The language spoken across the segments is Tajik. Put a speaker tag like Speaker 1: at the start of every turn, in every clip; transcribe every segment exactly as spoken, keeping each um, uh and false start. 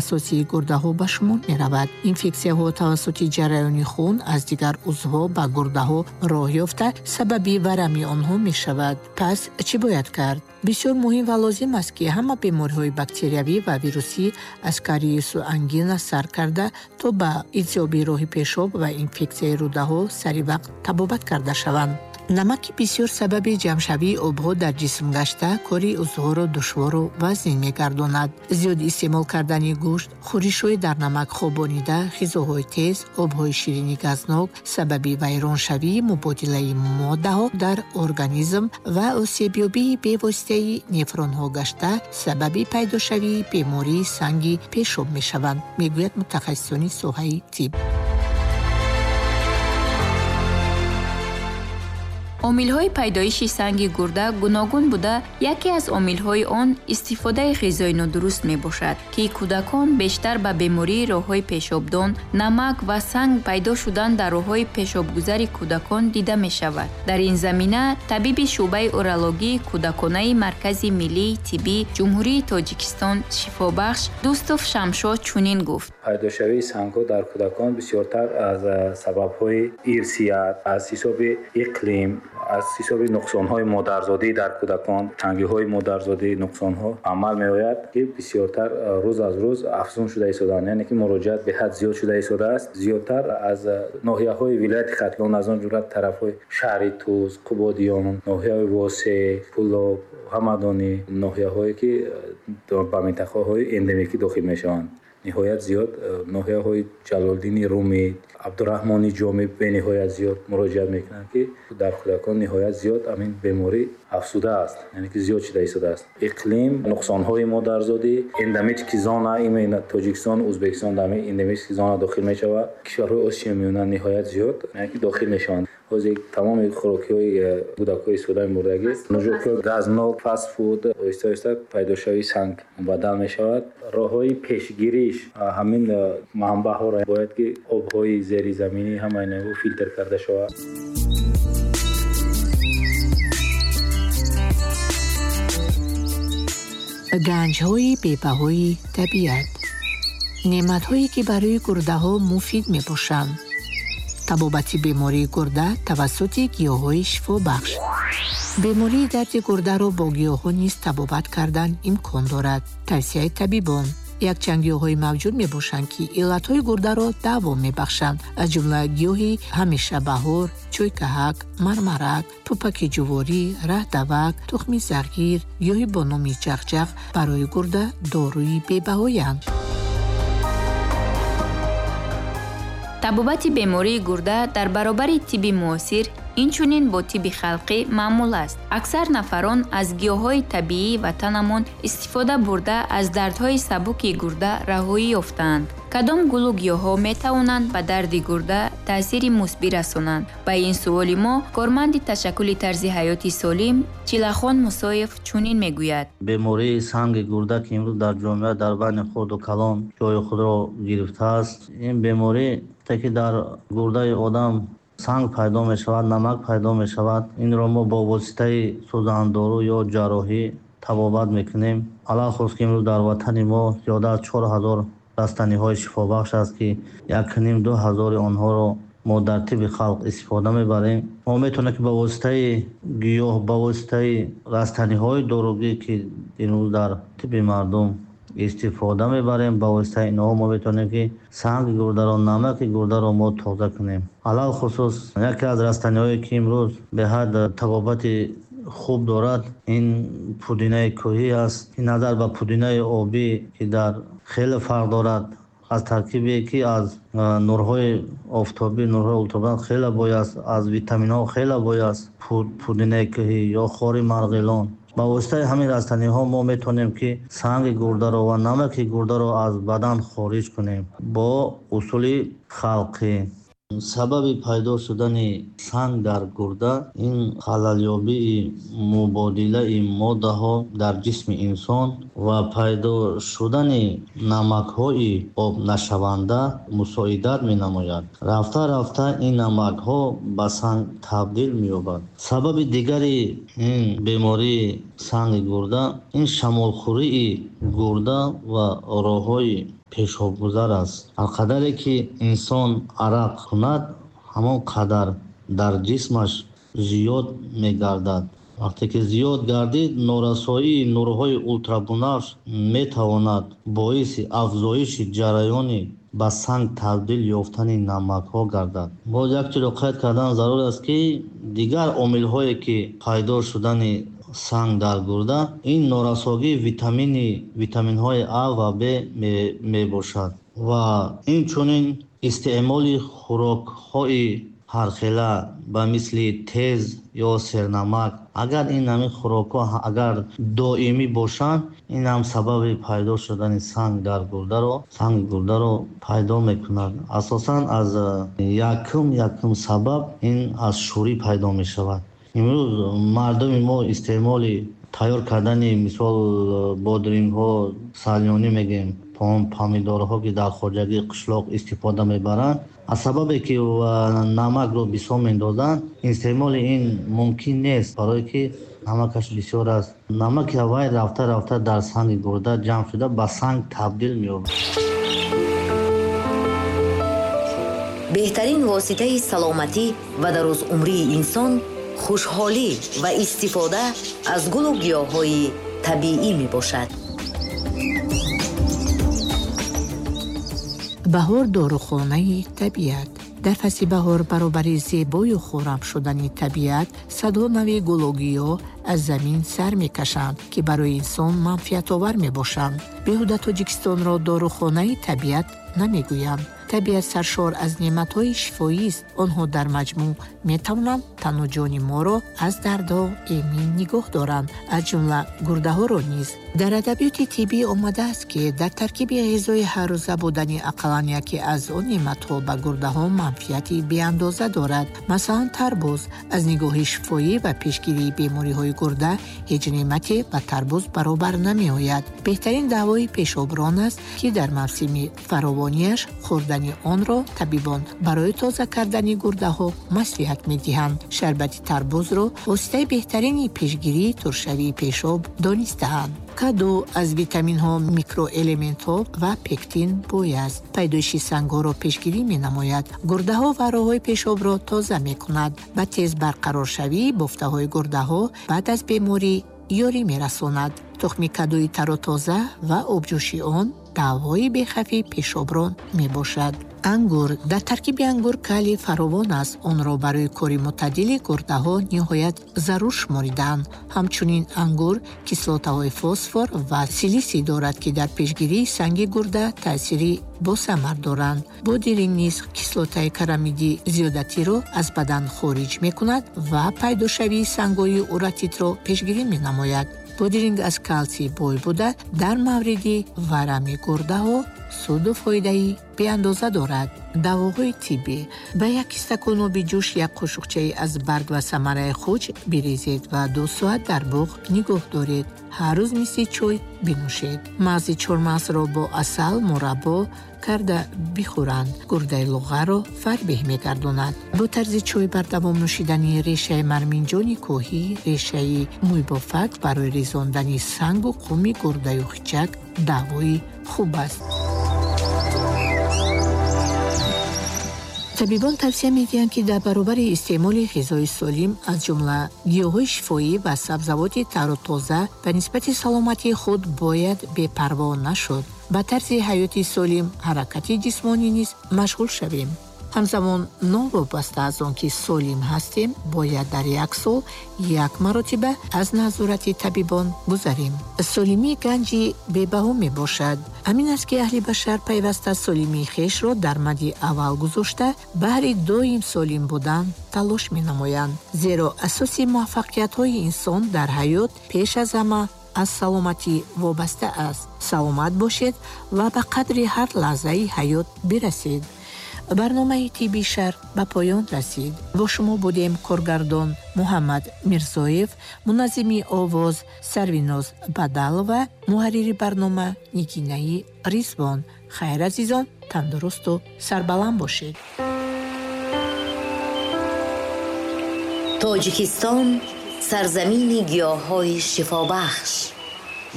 Speaker 1: асосии гурдаҳо ба шумор меравад. Инфексияҳо тавассути ҷараёни хун аз дигар узвҳо ба гурдаҳо роҳ ёфта, сабаби варами онҳо мешавад. Пас чӣ бояд кард? Бисёр муҳим ва лозим аст, ки ҳама бемориҳои бактериявӣ ва вирусӣ аз кариесу ангина сар карда то ба илтиҳоби роҳи пешоб ва инфексияи рӯдаҳо сари вақт табобат карда шаванд. Намаки бисёр сабаби ҷамъшавии обҳо дар ҷисм гашта, кори узвҳоро душвору вазнин мегардонад. Зиёд истеъмол кардани гӯшт, хӯришҳои дар намак хобонида, ғизоҳои тез, обҳои ширини газнок сабаби вайроншавии мубодилаи моддаҳо дар организм ва осебёбии бевоситаи нефронҳо гашта, сабаби пайдошавии бемории санги пешоб мешаванд, мегӯяд мутахассисони соҳаи тиб.
Speaker 2: Омилҳои пайдоиши санги гурда гуногун буда, яке аз омилҳои он истифодаи ғизои нодуруст мебошад, ки кӯдакон бештар ба бемории роҳҳои пешобдон, намак ва санг пайдо шудан дар роҳҳои пешобгузари кӯдакон дида мешавад. Дар ин замина табиби шӯъбаи урологии кӯдаконаи Маркази миллии тиббии Ҷумҳурии Тоҷикистон Шифобахш Дӯстов Шамшод чунин гуфт.
Speaker 3: Пайдошавии сангҳо дар кӯдакон бисёртар аз сабабҳои ирсият, аз ҳисоби иқлим, аз ҳисоби нуқсонҳои модарзодӣ дар кӯдакон, тангиҳои модарзодӣ, нуқсонҳо амал меояд, ки бисёртар рӯз аз рӯз афзун шуда истодаанд, яъне ки муроҷиат беҳад зиёд шуда истодааст. Зиёдтар аз ноҳияҳои вилояти Хатлон, аз он ҷумла тарафҳои шаҳри Тӯз, Қубодиён, ноҳияҳои Восеъ, Кӯлоб, Ҳамадонӣ, ноҳияҳое ки ба минтақаҳои эндемикӣ дохил мешаванд. Ниҳоят зиёд ноҳияҳои Ҷалолиддини Румӣ, Абдураҳмони Ҷомӣ бениҳоят зиёд муроҷиат мекунанд, ки дар кӯдакон ниҳоят зиёд ҳамин беморӣ афзудааст, яъне ки зиёд шуда истодааст. Иқлим, нуқсонҳои модарзодӣ, эндемический зона, именно Тоҷикистон, Ӯзбекистон дар ҳамин эндемический зона дохил мешавад. Кишварҳои Осиёи Миёна ниҳоят зиёд, яъне ки дохил мешаванд. Ҳозир тамоми хӯрокиҳои кӯдакҳои истифода мебурдагӣ, нӯшокиҳои газнок, фастфуд, оҳиста оҳиста пайдошавии санг мубаддал мешавад. Роҳҳои пешгириш ҳамин манбаъҳоро бояд ки обҳои зеризаминӣ ҳама инҳо филтр карда шавад.
Speaker 1: Ганҷҳои бебаҳои табиат, неъматҳое ки барои гурдаҳо муфид мебошанд. Табобати бемории гурда тавассути гиёҳҳои шифобахш. Бемории дарди гурдаро бо гиёҳҳо низ табобат кардан имкон дорад. Тавсияи табибон. Якчанд гиёҳҳои мавҷуд мебошанд, ки иллатҳои гурдаро даво мебахшанд, аз ҷумла гиёҳи ҳамешабаҳор, чойкаҳак, мармарак, пӯпаки ҷуворӣ, раҳдавак, тухми зағир, гиёҳи бо номи ҷағҷағ барои гурда доруи бебаҳоянд.
Speaker 2: Табобати бемории гурда дар баробари тибби муосир инчунин бо тибби халқӣ маъмул аст. Аксар нафарон аз гиёҳҳои табиии ватанамон истифода бурда аз дардҳои сабуки гурда раҳоӣ ёфтаанд. Кадом гулу гиёҳҳо метавонанд ба дарди гурда таъсири мусбӣ расонанд? Ба ин суоли мо корманди ташаккули тарзи ҳаёти солим Чилахон Мусоев чунин мегӯяд.
Speaker 4: Бемории санги гурда, ки имрӯз дар ҷомеа дар байни хурду калон ҷои худро гирифтааст, ин беморӣ ки дар гурдаи одам санг пайдо мешавад, намак пайдо мешавад, инро мо бо воситаи сӯзандору ё ҷарроҳӣ табобат мекунем. Алалхусус ки имрӯз дар ватани мо зиёда аз чор ҳазор растаниҳои шифобахш аст, ки якним ду ҳазори онҳоро мо дар тибби халқ истифода мебарем. Мо метавонем ки ба воситаи гиёҳ, ба воситаи растаниҳои доругӣ, ки имрӯз дар тибби мардум истифода мебарем, ба воситаи инҳо мо метавонем ки санги гурдаро, намаки гурдаро мо тоза кунем. Алалхусус яке аз растаниҳое ки имрӯз беҳад табобати хуб дорад, ин пудинаи кӯҳӣ аст. Ин назар ба пудинаи обӣ, ки дар хеле фарқ дорад, аз таркибе ки аз нурҳои офтобӣ, нурҳои ултрабунафш хеле бой аст, аз витаминҳо хеле бой аст. Пудинаи кӯҳӣ ё хори марғилон. Ба воситаи ҳамин растаниҳо мо метавонем ки санги гурдаро ва намаки гурдаро аз бадан хориҷ кунем бо усули халқӣ. Сабаби пайдо шудани санг дар гурда ин халалёбии мубодилаи моддаҳо дар ҷисми инсон ва пайдо шудани намакҳои обнашаванда мусоидат менамояд. Рафта-рафта ин намакҳо ба санг табдил меёбад. Сабаби дигари ин бемории санги гурда ин шамолхӯрии гурда ва роҳҳои пешобгузар аст. Ҳар қадаре ки инсон арақ кунад, ҳамон қадар дар ҷисмаш зиёд мегардад. Вақте ки зиёд гардид, норасоии нурҳои ултрабунафш метавонад боиси афзоиши ҷараёни ба санг табдил ёфтани намакҳо гардад. Боз як чизро қайд кардан зарур аст, ки дигар омилҳое ки пайдо шудани санг дар гурда, ин норасогии витамини витаминҳои А ва Б мебошад ва инчунин истеъмоли хӯрокҳои ҳархела ба мисли тез ё сернамак. Агар ин ҳамин хӯрокҳо агар доимӣ бошанд, ин ҳам сабаби пайдо шудани санг дар гурдаро санги гурдаро пайдо мекунад. Асосан аз якум якум сабаб ин аз шӯрӣ пайдо мешавад. Имрӯз мардуми мо истеъмоли тайёр кардани мисол бодрингҳо, салёнӣ мегӯем, помидорҳо ки дар хоҷагии қишлоқ истифода мебаранд, аз сабабе ки намакро бисёр мендозанд, истеъмоли ин мумкин нест, барое ки намакаш бисёр аст. Намаки вай рафта рафта дар санги гурда ҷамъ шуда ба санг табдил меёбад.
Speaker 5: Беҳтарин воситаи саломатӣ ва дарозумрии инсон хушҳолӣ ва истифода аз гулу гиёҳҳои табиӣ мебошад.
Speaker 1: Баҳор дорухонаи табиат. Дар фасли баҳор баробари зебою хуррам шудани табиат садҳо нави гулу гиёҳ аз замин сар мекашанд, ки барои инсон манфиатовар мебошанд. Беҳуда Тоҷикистонро дорухонаи табиат намегӯянд. Табиат саршор аз неъматҳои шифоист. Онҳо дар маҷмӯъ метавонанд тану ҷони моро аз дардҳо эмин нигоҳ доранд, аз ҷумла гурдаҳоро низ. Дар адабиёти тиббӣ омадааст, ки дар таркиби ғизои ҳаррӯза будани ақаллан яке аз он неъматҳо ба гурдаҳо манфиати беандоза дорад. Масалан, тарбуз аз нигоҳи шифоӣ ва пешгирии бемориҳои гурда ҳеҷ неъмате ба тарбуз баробар намеояд. Беҳтарин давои пешоброн аст, ки дар мавсими фаровонияш хӯрдани онро табибон барои тоза кардани гурдаҳо маслиҳат медиҳанд. Шарбати тарбузро воситаи беҳтарини пешгирии туршавии пешоб донистаанд. Каду аз витаминҳо, микроэлементҳо ва пектин бой аст. Пайдоиши сангҳоро пешгирӣ менамояд. Гурдаҳо ва роҳҳои пешобро тоза мекунад. Ба тез барқароршавии бофтаҳои гурдаҳо баъд аз беморӣ ёрӣ мерасонад. Тухми кадуи тару тоза ва обҷӯши он давои бехавфи пешоброн мебошад. Ангур. Дар таркиби ангур калий фаровон аст. Онро барои кори мӯътадили гурдаҳо ниҳоят зарур шуморидаанд. Ҳамчунин ангур кислотаҳои фосфор ва силисий дорад, ки дар пешгирии санги гурда таъсири босамар доранд. Бодиринг низ кислотаи карамиди зиёдатиро аз бадан хориҷ мекунад ва пайдошавии сангҳои уратитро пешгирӣ менамояд. Бодиринг аз калсий бой буда, дар мавриди варами гурдаҳо суду фоидаи беандоза дорад. Давоҳои тиббӣ. Ба як стакон оби ҷӯш як қошуқчаи аз барг ва самараи хуч бирезед ва ду соат дар буғ нигоҳ доред. Ҳар рӯз мисли чой бинӯшед. Мағзи чормағзро бо асал мураббо карда бихӯранд. Гурдаи луғаро фарбеҳ мегардонад. Бо тарзи чой бардавом нӯшидани решаи марминҷони кӯҳӣ, решаи мӯйбофак барои резондани сангу қуми гурдаю хичак давои хуб аст. Табибон тавсия медиҳанд, ки дар баробари истеъмоли ғизои солим, аз ҷумла гиёҳҳои шифоӣ ва сабзавоти тару тоза, ба нисбати саломатии худ бояд бепарво нашуд. Ба тарзи ҳаёти солим, ҳаракати ҷисмонӣ низ машғул шавем. Ҳамзамон, новобаста аз он ки солим ҳастем, бояд дар як сол як маротиба аз назорати табибон гузарем. Солимӣ ганҷи бебаҳо мебошад. Ҳамин аст, ки аҳли башар пайваста солимии хешро дар мади аввал гузошта, баҳри доим солим будан талош менамоянд. Зеро асоси муваффақиятҳои инсон дар ҳаёт пеш аз ҳама аз саломатӣ вобаста аст. Саломат бошед ва ба қадри ҳар лаҳзаи ҳаёт бирасед. Барномаи тибби шарқ ба поён расид. Бо шумо будем коргардон Муҳаммад Мирзоев, муназзими овоз Сарвиноз Бадалова, муҳаррири барнома Нигинаи Ризвон. Хайр, азизон, тандурусту сарбаланд бошед.
Speaker 5: Тоҷикистон сарзамини гиёҳҳои шифобахш.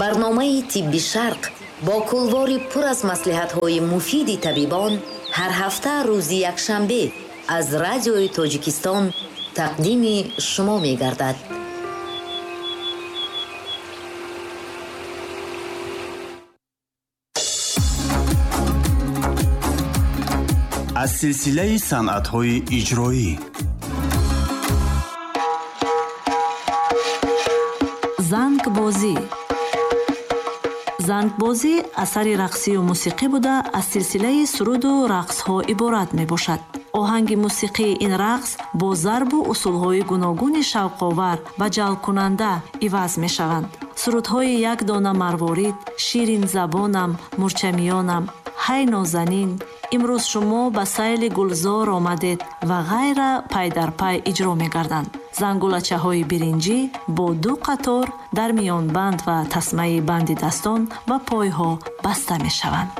Speaker 5: Барномаи тибби шарқ Бо кулвори пур аз маслиҳатҳои муфиди табибон ҳар ҳафта рӯзи якшанбе аз радиои Тоҷикистон тақдими шумо мегардад.
Speaker 6: Аз силсилаи санъатҳои иҷроӣ
Speaker 7: зангбозӣ. Зангбозӣ асари рақсию мусиқӣ буда, аз силсилаи суруду рақсҳо иборат мебошад. Оҳанги мусиқии ин рақс бо зарбу усулҳои гуногуни шавқовар ва ҷалбкунанда иваз мешаванд. Сурудҳои як дона марворид, ширин забонам, мурчамиёнам, ҳай нозанин, имрӯз шумо ба сайли гулзор омадед ва ғайра пай дар пай иҷро мегарданд. Зангулачаҳои биринҷӣ бо ду қатор дар миёнбанд ва тасмаи банди дастон ва пойҳо баста мешаванд.